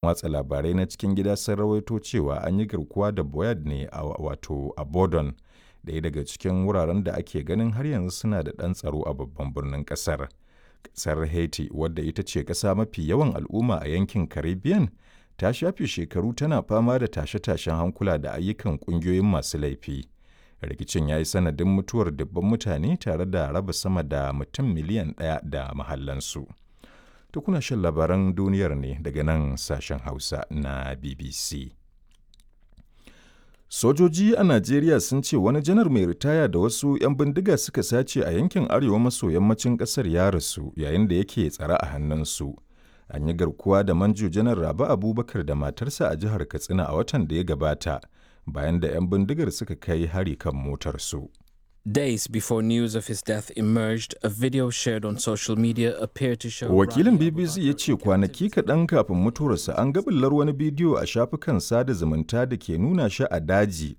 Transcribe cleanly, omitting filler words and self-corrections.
Watsa labarai na cikin gida sun rawaito cewa an yi garkuwa da Boyd ne a wato a Bordon, ɗaya daga cikin wuraren da ake ganin har yanzu suna da ɗan tsaro a babban birnin ƙasar. Ƙasar Haiti, wadda ita ce ƙasa mafi yawan al'umma a yankin Caribbean, ta shafe shekaru tana fama da tashe-tashen hankula da ayyukan ƙungiyoyin masu laifi. Rikicin ya yi sanadin mutuwar dubban mutane tare da raba sama da mutum miliyan ɗaya da mahallansu. To kuna shan labaran duniyar ne daga nan sashen Hausa na BBC. Sojoji a Najeriya sun ce wani janar mai ritaya da wasu 'yan bindiga suka sace a yankin arewa maso yammacin ƙasar ya rasu yayin da yake tsare a hannunsu. An yi garkuwa da manjo janar Rabe Abubakar da matarsa a jihar Katsina a watan da ya gabata bayan da 'yan bindigar suka kai hari kan motarsu. Days before news of his death emerged, a video shared on social media appeared to show Wakilin BBC ya ce kwanaki kaɗan kafin mutuwarsa an ga bullar wani bidiyo a shafukan sada zumunta da ke nuna shi a daji